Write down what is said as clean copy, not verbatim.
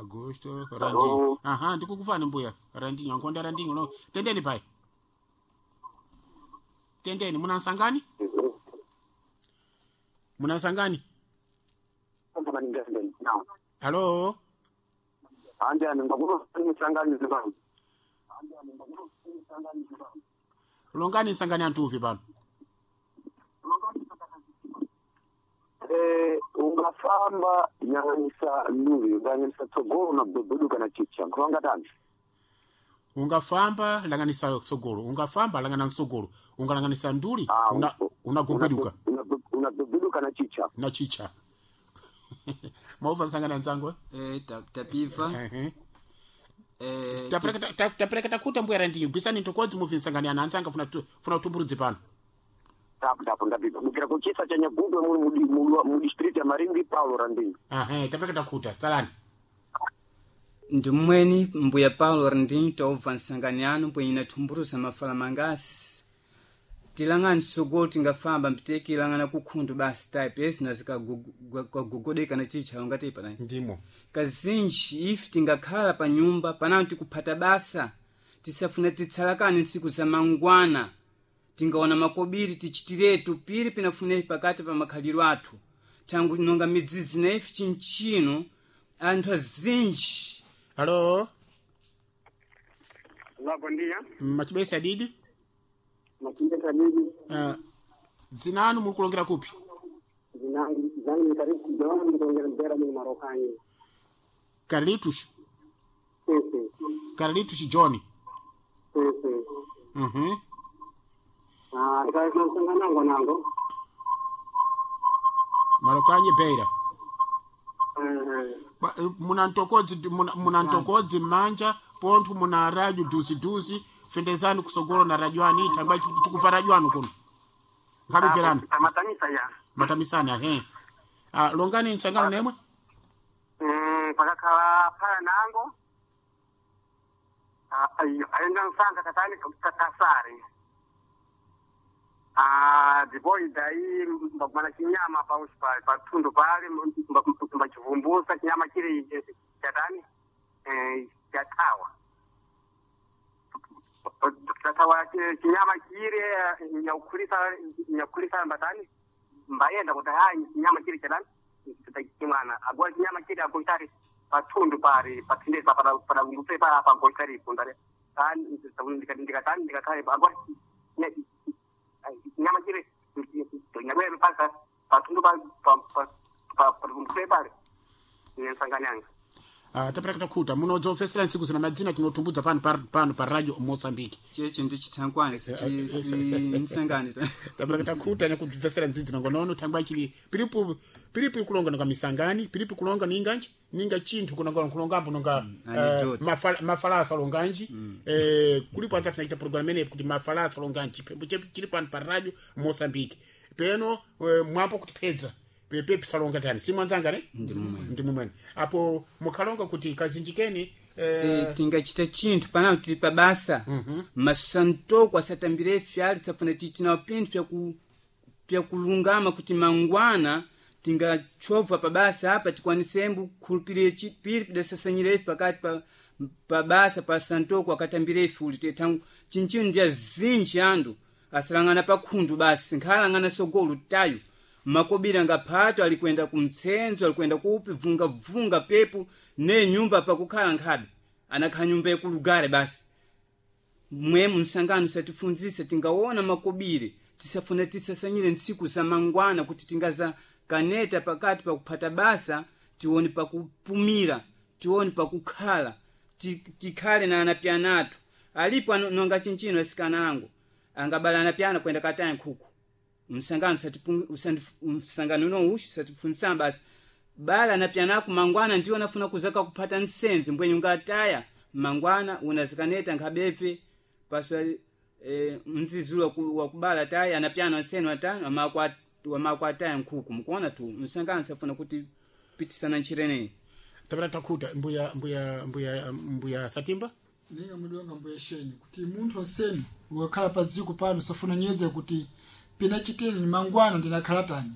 Augusto Randinho. Aha, ndikukufani mbuya Randinho, ankonda Randinho no. Tendeni pai. Tendeni munansangani? Munansangani? Halo? Anjani ngakunosangani zibani. Longani nsangani antuvi pano. Ungafamba nyang'anyisa luvi unganyanyisa tsogolo na bwebeduka na chicha nkulonga tani. Ungafamba langanisa tsogolo, ungafamba langana mtsogolo, ungalanganisa nduli una unagogweduka Unagwebeduka na chicha. Na chicha. Mauva nsangani anzangu eh? Eh, tapiva. Ehe. Eh, Tapereka takuta mbuya Randinho, bvisani ntokodzi muvi nsangani ana anzanga funa funa utumburudzi pano. Tapu tapu ndapiva mukira kuchisa cha Nyagudwe muli mu district ya Maringi Paulo Randinho. Aha, tapereka takuta, salani. Ndimweni mbuya Paulo Randinho taubva nsangani anu mbwenye nathumburuza mafala mangasi. Tilang'ani tsogolo tingafamba mpiteki ilang'ana kukhundu basi type esi nazikagogodeka na chicha longati panani. Ndimo. Kazinji ife tingakhala pa nyumba panano tikuphata basa tisafuna titsalakane ntsiku za mangwana tingaona makobiri tichitiretu piri pinafune pakati pa makhaliro athu thangu nonga midzidzi na ife chinchino anthu azinji. Halo? La, bom dia. Machibesa didi? Machibesa didi. Dzina anu muri kulongera kupi? Zangu ni karibu John ndikulongera Mbera mimi Marokani. Carlitos. Sisi. Carlitos John. Sisi. Mhm. Ah, ndikaisana nango nango. Marokanye Beira. Eh. Muna ntokodzi muna ntokodzi manja pontho muna radio duzi duzi fendezani kusogolo na radio ani tangwa tikuva radio anu kuno. Nkabibverana. Matamisa ya. Matamisana he. Ah, longani nchangano nemwe? Pakakhala phala nango. Ayenga nsanga katani katasari. Ah, ndipo idai mbagwana chinyama pa patundu pale mbachivumbusa chinyama chili chatani chatawa chatawa chinyama chile nyakukhulisa nyakukhulisa mbatani mbayenda kuti hayi chinyama chili chatani chimwana agora chinyama chili agoitari patundu pari pathindesa padavumbusa pa agoitaripo ndare ndikatani ndikakhale agora nyama chile nyabwere pasa patundu pa pale nensanganyanga. Tapereka takhuta munodzofesera ntsiku zina madzina tinotumbudza pano pano pa radio Mozambique. Cheche ndi chithankwane si msangani. Tapereka takhuta nyakubvesera ndzidzi nangonono thangwa chili piripo piripo kulonga nonga misangani piripo kulonga ninganji ninga chinthu kunonga kulongambo nonga mafalasa longanji. Kulipo anza tinaita program ene kuti mafalasa longanji pembo chili pano pa radio Mozambique peno mwambo kutipedza pepe salonga tani simwanzanga ne ndi mumweni apo mukhalonga kuti kazinjikeni. Tingachita chinthu panano tili pa basa masantoko asatambire fyali tisafuna tichinawo pinthu pyakulungama kuti mangwana tingachobva pa basa apa tikwanisembu kukhulupirire piri pidasasanyira ife pakati pa basa pa santoko akatambire ife uli tethangu chinchino ndi azinji andu asalang'ana pa khundu basi nkhalang'ana sogolo tayo makobiri ngaphato alikwenda kumtsenzo alikwenda kupi vungavunga pepo ne nyumba pakukhala nkhabe anakhala nyumba yakulugare basi mwemu msangano satifunzisa tingaona makobiri tisafuna tisasanyire ntsiku za mangwana kuti tingaza kaneta pakati pakuphata basa tione pakupumira tione pakukhala tikhale na anapyana athu alipo nonga chinchino asikana angu angabala anapyana kwenda kataya nkhuku msangano msangano uno ushi satifunzisa basi bala anapyanaku mangwana ndiwo nafuna kuzaka kuphata nsenzi mbwenye ungataya mangwana unazikaneta nkhabepe paswa mzizulo wakubala taya anapyana nsenu atano wamako ataya nkhuku mukuona tu msangano safuna kuti pitisana nchireneyi. Tapera takhuta mbuya mbuya mbuya mbuya Satimba. Ninga mudonga mbuya shenyi kuti munthu onseni ukakhala pa dziko pano safuna nyeze kuti pina chitini ni mangwana ndinakhala tani.